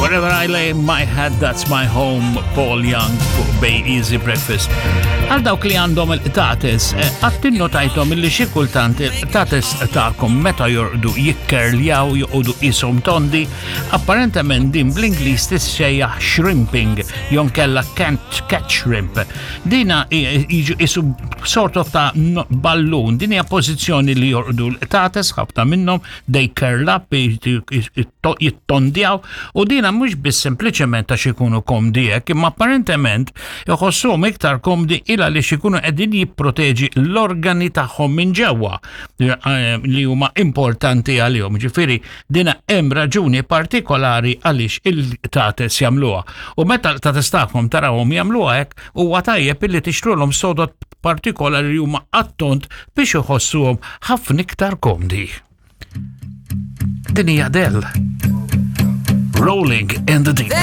Wherever I lay my head, that's my home, Paul Young fuq Bay Easy Breakfast. Għal dawk li għandhom il-qtates, eh, għattin notajtom illi xi kultant il-qtates tagħkom meta jorqdu jikkerljaw joqogħdu qishom tondi, apparentement din bl-Ingliż tissejjaħ shrimping, jon kella can't catch shrimp. Dina jiġu isu sort of ta' ballun, din hija pożizzjoni li jorqdu l-qtates ħafna minnhom they curl up, jittondjaw, u dina mhux biss sempliċement għax ikunu komdi hekk, imma apparentement iħossuhom iktar komdi il għaliex ikunu qegħdin jipproteġi l-organi tagħhom minn ġewwa eh, li huma importanti għalihom. Ġifieri dina hemm raġuni partikolari għaliex il-tates jagħmluha. U meta l-tates tagħhom tarawhom jagħmluha hekk, huwa tajjeb illi tixtrulhom sodot partikolari li huma attont biex iħossuhom ħafna iktar komdi. Din hija Adele. Rolling in the Deep.